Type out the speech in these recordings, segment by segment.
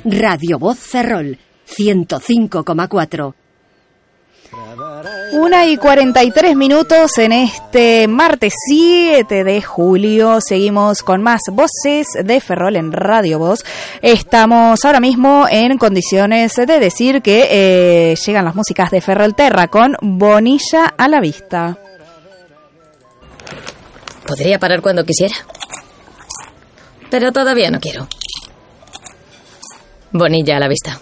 Radio Voz Ferrol, 105,4. 1:43 en este martes 7 de julio. Seguimos con más voces de Ferrol en Radio Voz. Estamos ahora mismo en condiciones de decir que llegan las músicas de Ferrolterra con Bonilla a la vista. Podría parar cuando quisiera, pero todavía no quiero. Bonilla a la vista.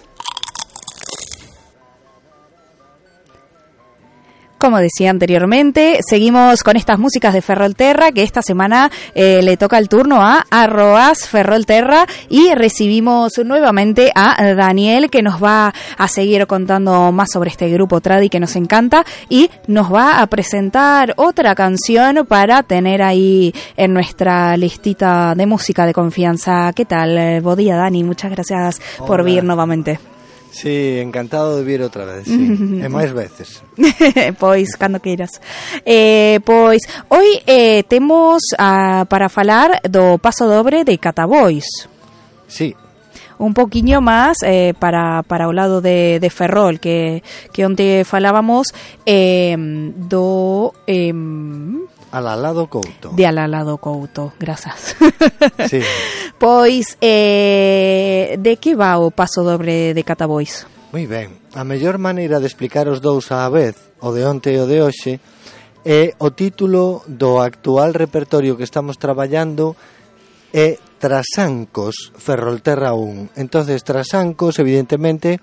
Como decía anteriormente, seguimos con estas músicas de Ferrolterra, que esta semana le toca el turno a Arroas Ferrolterra, y recibimos nuevamente a Daniel, que nos va a seguir contando más sobre este grupo tradi que nos encanta, y nos va a presentar otra canción para tener ahí en nuestra listita de música de confianza. ¿Qué tal? Buen día, Dani, muchas gracias por vir nuevamente. Sí, encantado de vir outra vez, sí. E máis veces. Pois, cando queiras. Pois, hoy temos para falar do paso dobre de Catabois. Sí. Un poquinho máis para o lado de Ferrol, que onte falábamos do... Alalado Couto. De Alalado Couto, grazas. Sí. Pois, de que va o paso dobre de Catabois? Moi ben. A mellor maneira de explicar os dous á vez, o de onte e o de hoxe, é o título do actual repertorio que estamos traballando, é Trasancos Ferrolterra 1. Entonces, Trasancos, evidentemente,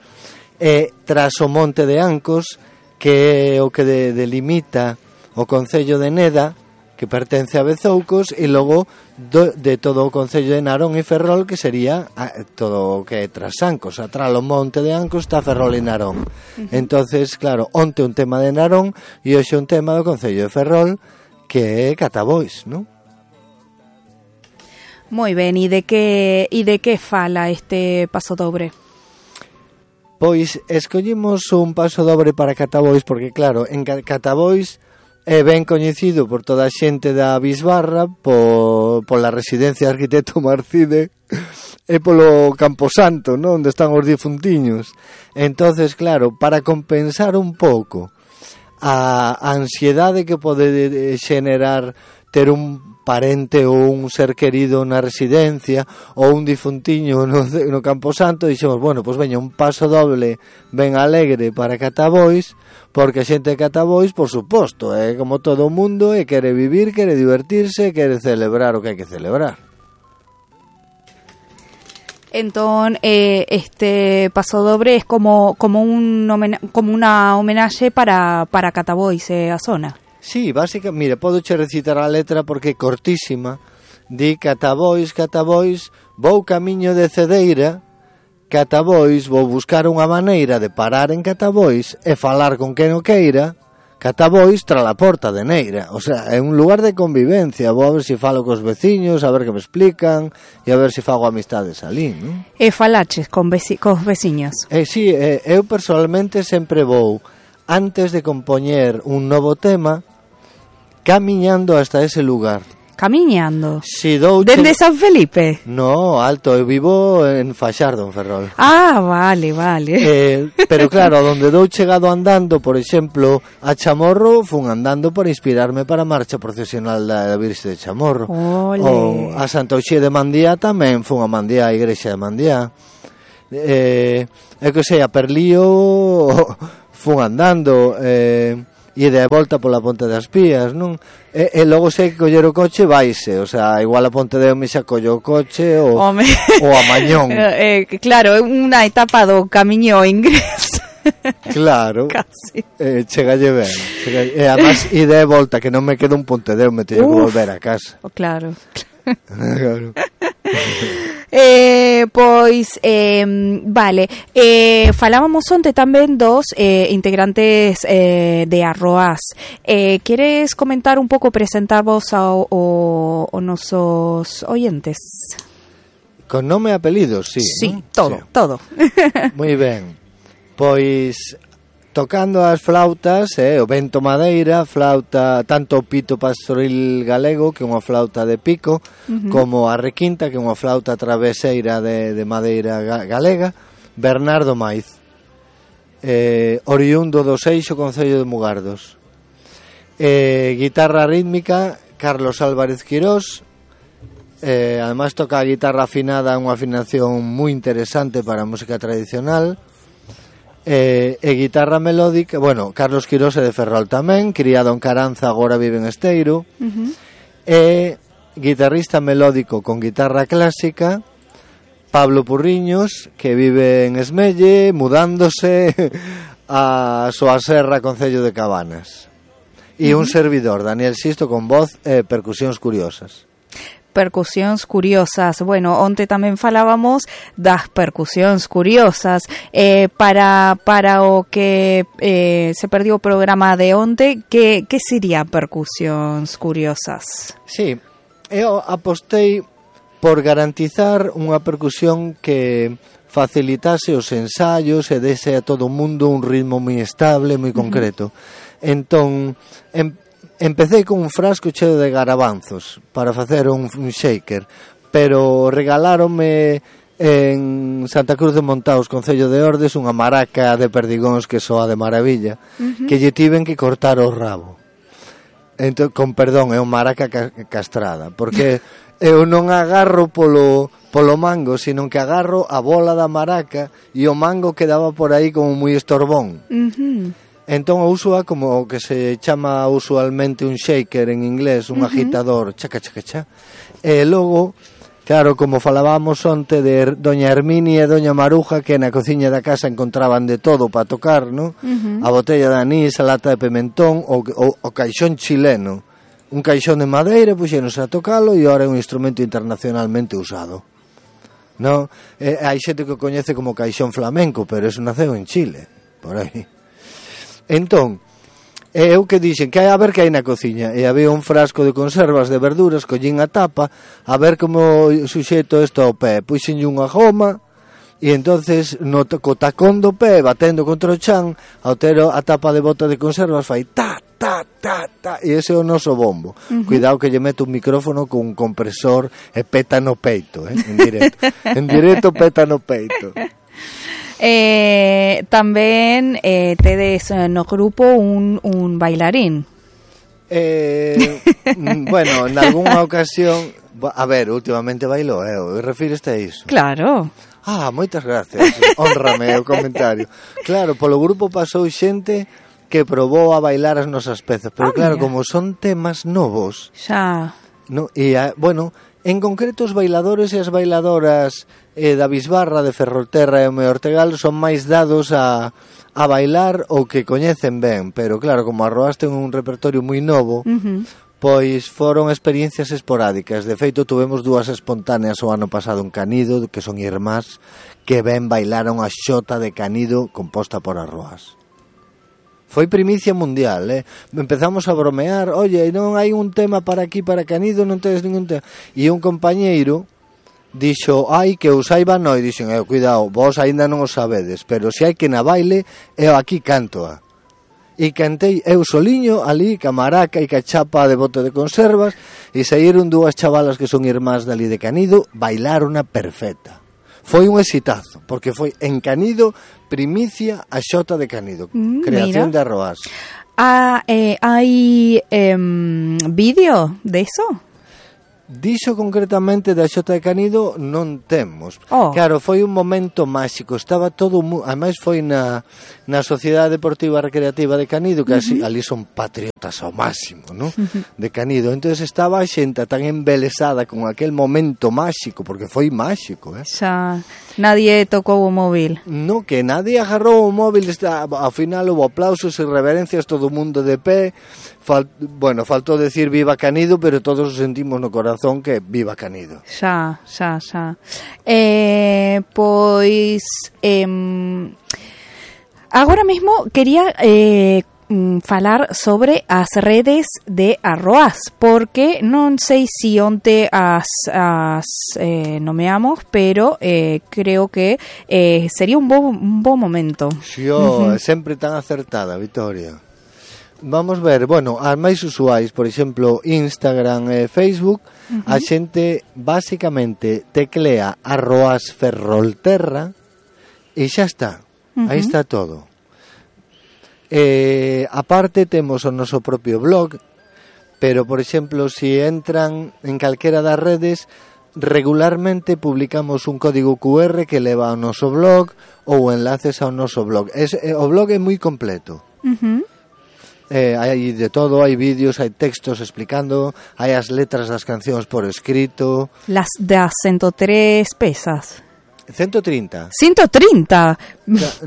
é tras o Monte de Ancos, que é o que delimita o concello de Neda, que pertence a Bezoucos, e logo de todo o concello de Narón e Ferrol, que sería todo o que é Trasancos. Atrás o Monte de Ancos está Ferrol e Narón. Entonces, claro, onte un tema de Narón e hoxe un tema do concello de Ferrol, que é Catabois, non? Moi ben, e de que fala este paso dobre? Pois escollimos un paso dobre para Catabois porque, claro, en Catabois é ben coñecido por toda a xente da Bisbarra, pola residencia de arquitecto Marcide e polo Camposanto, non? Onde están os difuntiños. Entonces, claro, para compensar un pouco a ansiedade que pode xenerar ter un parente ou un ser querido na residencia ou un difuntiño no Camposanto, dixemos, bueno, pois veña un paso doble ben alegre para Catabois, porque a xente de Catabois, por suposto, é como todo o mundo, e quere vivir, quere divertirse, quere celebrar o que hai que celebrar. Entón, este paso dobre é como unha homenaxe para Catabois e a zona. Sí, básicamente, mira, podo che recitar a letra porque é cortísima. Di Catabois, Catabois, vou camiño de Cedeira, Catabois, vou buscar unha maneira de parar en Catabois e falar con quen o queira, Catabois tra la porta de Neira. O sea, é un lugar de convivencia. Vou a ver se falo cos veciños, a ver que me explican e a ver se fago amistades ali, non? E falaches cos veciños? Sí, eu personalmente sempre vou, antes de compoñer un novo tema, camiñando hasta ese lugar. Camiñando? Si dende San Felipe? No, alto, eu vivo en Faxardo, en Ferrol. Ah, vale. Pero claro, donde dou chegado andando, por exemplo, a Chamorro, fun andando para inspirarme para a marcha procesional da Virxe de Chamorro. Ole. Ou a Santa Uxía de Mandiá tamén fun a Mandiá, a igrexa de Mandiá. Que sei, a Perlío fun andando, e de volta pola Ponte das Pías, non? E logo sei que coller o coche vaise, o sea, igual a Ponte de Omi xa collo o coche ou a Mañón. Claro, é unha etapa do camiño ingreso. Claro. Casi. Chegalle ben. E además, e de volta, que non me quedo un Ponte de Omi, teño que volver a casa. Claro. Claro. Vale, falábamos onte tamén dos integrantes de Arroas. Queres comentar un pouco, presentarvos aos nosos oyentes? Con nome e apelidos, sí. Sí, ¿no? todo. Moi ben. Pois tocando as flautas, o vento madeira, flauta, tanto o pito pastoril galego, que é unha flauta de pico, como a requinta, que é unha flauta traveseira de madeira galega, Bernardo Maiz, oriundo do Seixo, concello de Mugardos. Guitarra rítmica, Carlos Álvarez Quirós. Además toca a guitarra afinada, unha afinación moi interesante para a música tradicional. Guitarra melódica, bueno, Carlos Quirós é de Ferrol tamén, criado en Caranza, agora vive en Esteiro. Guitarrista melódico con guitarra clásica, Pablo Purriños, que vive en Esmelle, mudándose a Soaserra, concello de Cabanas. E un servidor, Daniel Sisto, con voz e percusións curiosas. Percusións curiosas. Bueno, onte tamén falábamos das percusións curiosas. Para o que se perdió o programa de onte, que sería percusións curiosas? Sí, eu apostei por garantizar unha percusión que facilitase os ensaios e dese a todo o mundo un ritmo moi estable, moi concreto. Entón, empecé con un frasco cheo de garabanzos para facer un shaker, pero regaláronme en Santa Cruz de Montaos, concello de Ordes, unha maraca de perdigóns que soa de maravilla, que lle tiven que cortar o rabo. Entón, con perdón, é unha maraca castrada, porque eu non agarro polo mango, sino que agarro a bola da maraca e o mango quedaba por aí como moi estorbón. Entón uso como que se chama usualmente un shaker en inglés, un agitador, chaca, chaca, chaca. E logo, claro, como falábamos onte de doña Herminia e doña Maruja, que na cociña da casa encontraban de todo para tocar, ¿no? A botella de anís, a lata de pimentón, o caixón chileno. Un caixón de madeira, puxéronse a tocalo e ahora é un instrumento internacionalmente usado. No, hai xente que o coñece como caixón flamenco, pero eso naceu en Chile, por aí. Entón, eu que dixen que a ver que hai na cociña, e había un frasco de conservas de verduras, collín a tapa, a ver como suxeto isto ao pé, puxenlle unha goma, e entonces co tacón do pé, batendo contra o chan, ao ter a tapa de bota de conservas, fai ta, ta, ta, ta, e ese é o noso bombo. Cuidado que lle meto un micrófono con un compresor e peta no peito, en directo. En directo peta no peito. Tamén tedes no grupo un bailarín. Bueno, en algunha ocasión, a ver, últimamente bailou, refíreste a iso? Claro. Moitas gracias, hónrame o comentario. Claro, polo grupo pasou xente que probou a bailar as nosas pezas, pero claro, como son temas novos, xa, no, e bueno, en concreto os bailadores e as bailadoras da Bisbarra, de Ferrolterra e o Meu Ortegal son máis dados a bailar o que coñecen ben, pero claro, como Arroás ten un repertorio moi novo, pois foron experiencias esporádicas. De feito, tuvemos dúas espontáneas o ano pasado en Canido, que son irmás, que ben bailaron a xota de Canido composta por Arroás. Foi primicia mundial, Empezamos a bromear, oye, non hai un tema para aquí, para Canido, non tedes ningún tema. E un compañeiro dixo, que o saiba non, e dixen, cuidado, vos aínda non o sabedes, pero se hai que na baile, eu aquí cantoa. E cantei eu soliño ali, ca maraca e ca chapa de bote de conservas, e saíron dúas chavalas que son irmás dali de Canido, bailarona perfecta. Foi un exitazo, porque foi en Canido, primicia a xota de Canido, creación de Arroás. Hai vídeo de eso? Dixo concretamente da xota de Canido non temos. Claro, foi un momento máxico, estaba todo, ademais foi na Sociedade Deportiva Recreativa de Canido, que ali son patriotas ao máximo, ¿no? De Canido. Entonces estaba a xenta tan embelesada con aquel momento máxico, porque foi máxico, Xa, nadie tocou o móvil. No, que nadie agarrou o móvil, ao final houve aplausos e reverencias, todo o mundo de pé. Faltou decir viva Canido, pero todos sentimos no corazón que viva Canido. Xa. Pois agora mesmo quería falar sobre as redes de Arroaz, porque non sei se onte as nomeamos, pero creo que sería un bo momento. Xo, sempre tan acertada, Vitoria. Vamos ver, bueno, as máis usuais, por exemplo, Instagram e Facebook, a xente basicamente teclea Arroaz Ferrolterra e xa está. Aí está todo. Aparte temos o noso propio blog, pero, por exemplo, se entran en calquera das redes, regularmente publicamos un código QR que leva ao noso blog ou enlaces ao noso blog. O blog é moi completo. Hai de todo, hai vídeos, hai textos explicando, hai as letras das cancións por escrito. Las das 103 pesas. 130. 130.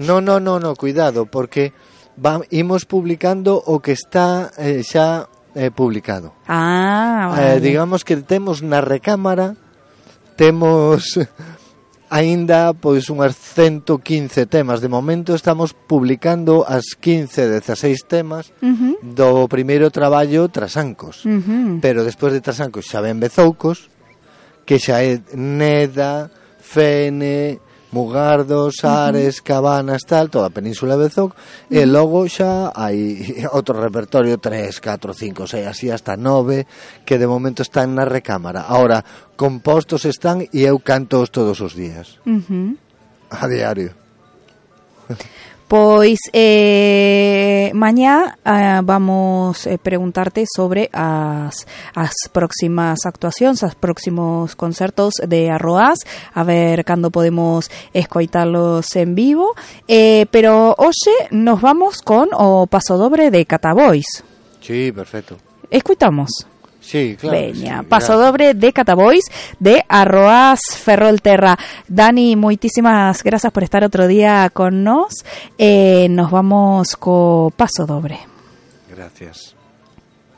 No, cuidado, porque imos publicando o que está xa publicado. Vale. Digamos que temos na recámara, temos aínda pois unhas 115 temas. De momento estamos publicando as 16 temas do primeiro traballo Trasancos. Pero despois de Trasancos xa ven Bezoucos, que xa é Neda, Fene, Mugardos, Ares, Cabanas, tal, toda a península de Bezouco, e logo xa hai outro repertorio, 3, 4, 5, 6, así hasta 9, que de momento están na recámara. Ahora, compostos están e eu cantos todos os días. A diario. Pois mañá vamos preguntarte sobre as próximas actuacións, os próximos concertos de Arroaz, a ver cando podemos escoitalos en vivo, pero hoxe nos vamos con o pasodobre de Catabois. Sí, perfecto. Escoitamos. Sí, claro. Veña, sí, pasodobre de Catabois de Arroaz Ferrolterra. Dani, moitísimas grazas por estar outro día con nos. Nos vamos co pasodobre. Gracias.